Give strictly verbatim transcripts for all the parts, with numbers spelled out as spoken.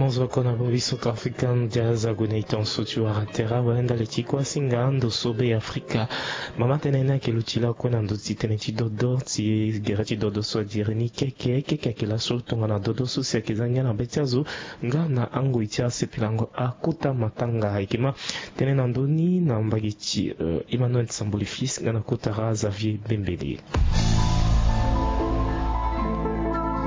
Zo kue na bobi Centrafricain Jazz ague na e tongaso ti wara tere awe ndali ti kuasinga ndo so Be Afrika. Mama tënë ni ayeke luti lakue na ndö ti tënë ti dodo ti gere ti dodo so adiri ni keke keke ayeke laso tongana dodo so si ayeke za ngia na be ti azo nga na angoi ti asepelango akota matanga. Ayeke ma tënë na ndö ni na mbage ti, euh, Emmanuel Samboli Fils nga na kotara Xavier Bembele.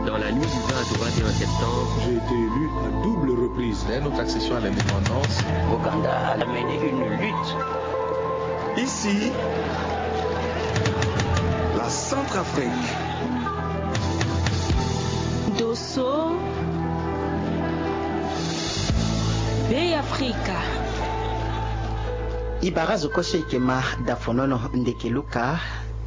Dans la nuit du vingt au vingt et un septembre, j'ai été élu à double reprise. Dès notre accession à l'indépendance, Ouganda a mené une lutte. Ici, la Centrafrique. Dosso, Be Afrika. E bara azo kue so e yeke ma dafonono ndeke luka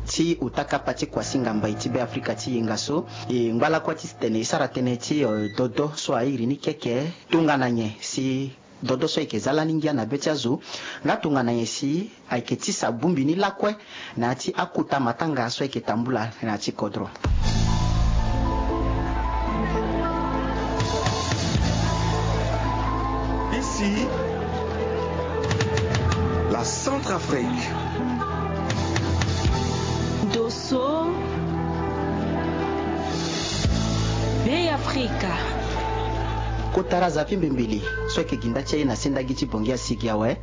ti uta kapa ti kuasinga mbai ti Be Afrika ti yenga so. E ngba lakue ti tene e sara tënë ti, eh, dodo so airi ni keke tongana nyen si dodo so ayeke za lani ngia na be ti azo nga tongana nyen si ayeke tisa bongbi ni lakue na ya ti akota matanga so ayeke tambula na ya ti kodro. Ici, la Centrafrique. Dosso, Be Afrika. Kotara Xavier Bembele so ayeke gi nda ti aye na sendagi ti Bangui asigi awe.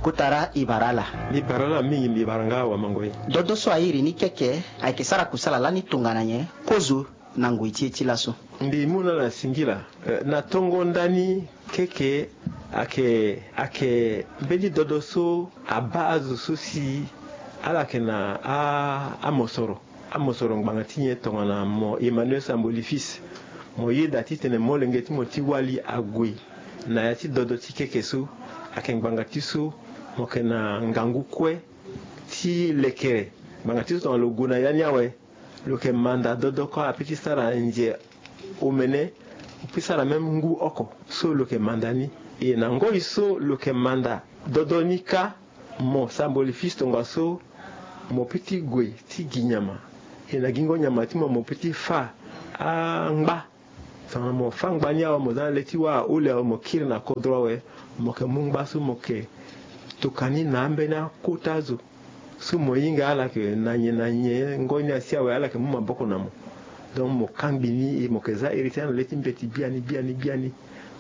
Kotara e bara ala. Mbi bara ala mingi, mbi bara nga awamango ye. Dodo so airi ni keke ayeke sara kusala lani tongana nyen kozo na ngoi ti e ti laso? Mbi mu na ala singila, eh, na tongo ndani keke ayeke, ayeke mbeni dodo so abaa azo so si ala yeke na a, amosoro. Amosoro ngbanga ti nyen? Tongana mo Emmanuel Samboli Fils, mo yeda titene molenge ti mo ti wali ague na ya ti dodo ti keke so. Ayeke ngbanga ti so mo yeke na ngangu kue ti lekere. Ngbanga ti so tongana lo gue na ya ni awe, lo yeke manda dodo kue ape ti sara nze omene, ape ti sara même ngu oko so lo yeke manda ni. E na ngoi so lo yeke manda dodo ni kâ, mo Samboli Fils tongaso, mo peut ti gue ti gi nyama. E na gingo nyama ti mo, mo peut ti fâ angba. Tongana mo fâ ngba ni awe, mo za na le ti wâ ahole awe, mo kiri na kodro awe, mo yeke mu ngba so mo yeke tokua ni na ambeni akota zo. So mo hinga ala yeke na nyen na nyen ngoi ni asi awe, ala yeke mu maboko na mo. Donc mo kangbi ni, e mo yeke za iri ti ala na le ti mbeti biani biani biani.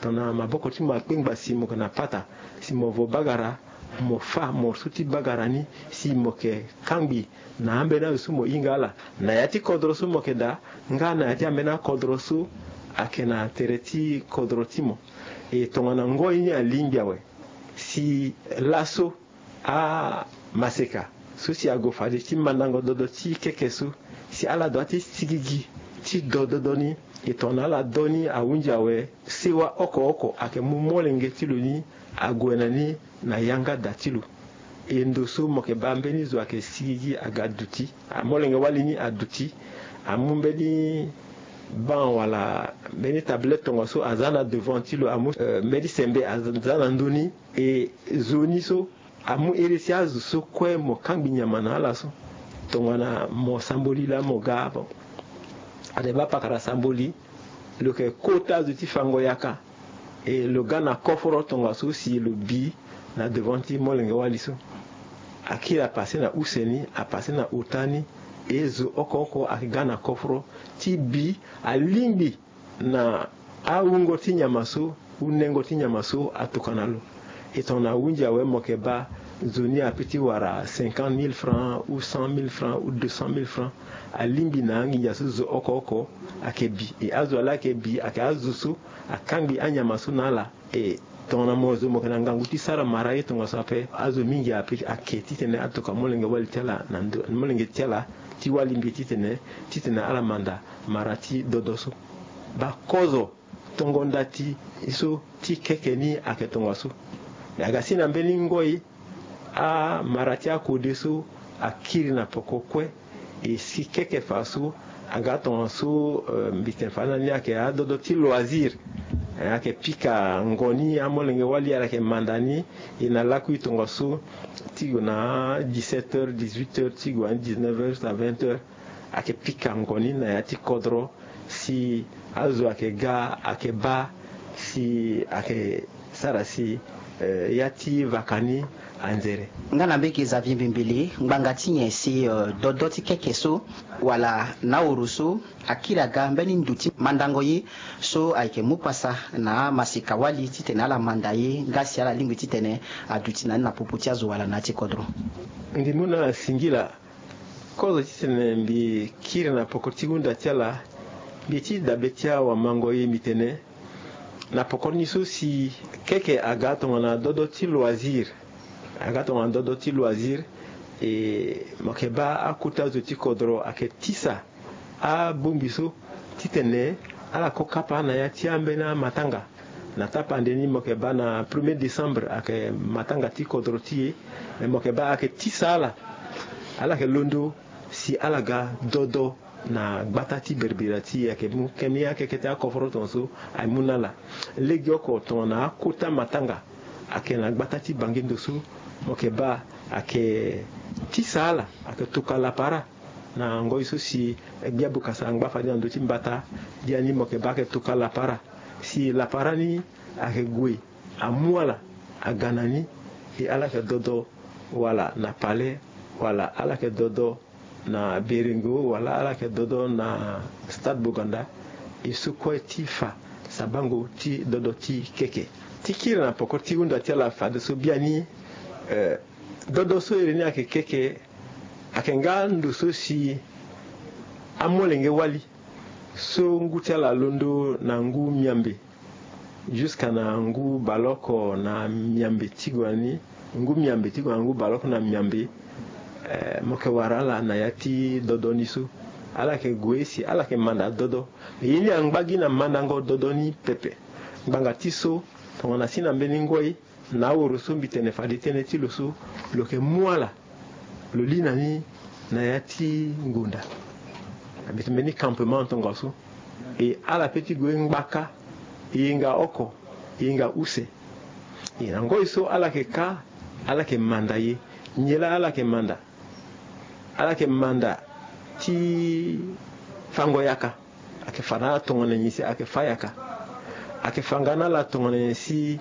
Tongana maboko ti mo akpengba si mo yeke na pata, si mo vo bagara, mo fâ morso ti bagara ni, si mo yeke kangbi na ambeni azo so mo hinga ala na ya ti kodro so mo yeke daa, nga na ya ti ambeni akodro so ayeke na tere ti kodro ti mo. E tongana ngoi ni alingbi awe, si laso amaseka so si ague fade ti mandango dodo ti keke so, si ala doit ti sigigi ti do dodo ni. E tongana ala do ni ahunzi awe, sewa oko oko ayeke mu molenge ti lo ni ague na ni na yanga da ti lo. E ndo so mo yeke baa mbeni zo ayeke sigigi aga duti, amolenge wali ni aduti, amu mbeni banc wala mbeni tablette tongaso aza na devant ti lo, amu, eh, mbeni sembe aza na ndö ni. E zo ni so amu iri ti azo so kue mo kangbi nyama na ala so. Tongana mo Samboli laa mo ga, bon, ade baa pakara Samboli, lo yeke kota zo ti fango yaka. E lo ga na koforo tongaso si lo bi na devant ti molenge wali so. Akiri apase na use ni, apase na ota ni. E zo oko oko ayeke ga na koforo ti bi, alingbi na awungo ti nyama so, unengo ti nyama so atokua na lo. E tongana ahunzi awe, mo yeke baa nzoni ape ti wara cinquante mille francs ou cent mille francs ou deux cent mille francs. Alingbi na anginza so zo oko oko ayeke bi. E azo ala ayeke bi ayeke azo so akangbi anyama so na ala. E tongana mo zo mo yeke na ngangu ti sara mara ye tongaso ape, azo mingi ape ayeke titene atokua molenge wali ti ala na ndo, molenge ti ala ti wali mbi titene, titene ala manda mara ti dodo so. Bakozo tongo nda ti so ti keke ni ayeke tongaso. Me aga si na mbeni ngoi, amara ti akode so akiri na poko kue. E si keke fa so aga tongaso, eh, mbi tene fa na ni ayeke adodo ti loisir. Eh, ayeke pika ngoni, amolenge wali ala yeke manda ni. E na lakui tongaso ti gue na dix-sept heures, dix-huit heures, ti gue na dix-neuf heures à vingt heures. Ayeke pika ngoni na ya ti kodro. Si azo ayeke ga, ayeke baa si ayeke sara si, eh, ya ti vaka ni anzere. Nga na mbege Xavier Mbembele, ngbanga ti nyen si, eh, dodo ti keke so wala na oro so akiri aga mbeni nduti mandango ye so ayeke mu pasa na amaseka-wali titene ala manda ye nga si ala lingbi titene aduti na ni na popo ti azo wala na ya ti kodro? Ndimbu na ala singila. Kozo titene mbi kiri na poko ti hunda ti ala, mbi ti dabe ti awamango ye mbi tene, na poko ni so si keke aga tongana dodo ti loisir. Aga tongana dodo ti loisir. E, mo yeke baa akota zo ti kodro ayeke tisa abongbi so titene ala ko kapa na ya ti ambeni amatanga. Na tapande ni mo yeke baa na premier décembre ayeke matanga ti kodro ti e. Me mo yeke baa ayeke tisa ala. Ala yeke londo si ala ga dodo na gbata ti berbera ti e, ayeke mu keni akeke ti akoforo tongaso amu na ala. Legeoko tongana akota matanga ayeke na gbata ti Bangindo so, mo yeke baa ayeke tisa ala, ayeke tokua lapara. Na ngoi so si gbia bokasa angba fade na ndö ti mbata, biani mo yeke baa ayeke tokua lapara. Si lapara ni ayeke gue amu ala aga na ni, e ala yeke dodo wala na palais, wala ala yeke dodo na Berengo, wala ala yeke dodo na Stade Boganda. E so kue ti fa sabango ti dodo ti keke. Ti kiri na poko ti hunda ti ala fadeso biani, eh, dodo so iri ni ayeke keke, ayeke nga ndo so si amolenge-wali so ngu ti ala alondo na ngu miambe, jusqu'à na ngu baleoko na miambe ti gue ni, ngu miambe ti gue na ngu baleoko na miambe, eh, mo yeke wara ala na ya ti dodo ni so. Ala yeke gue si ala yeke manda dodo. Ye ni angba gi na mandango dodo ni pepe. Ngbanga ti so, tongana si na mbeni ngoi, na aworo so mbi tene fade tënë ti lo so, lo yeke mu ala, lo li na ni na ya ti ngonda. Mbi tene mbeni campement tongaso. E ala pe ti gue ngbaka, e hinga oko, e hinga use. E na ngoi so ala yeke ka, ala yeke manda ye. Nyen laa ala yeke manda? Ala yeke manda ti fango yaka. Ayeke fa na ala tongana nyen si ayeke fa yaka. Ayeke fa nga na ala tongana nyen si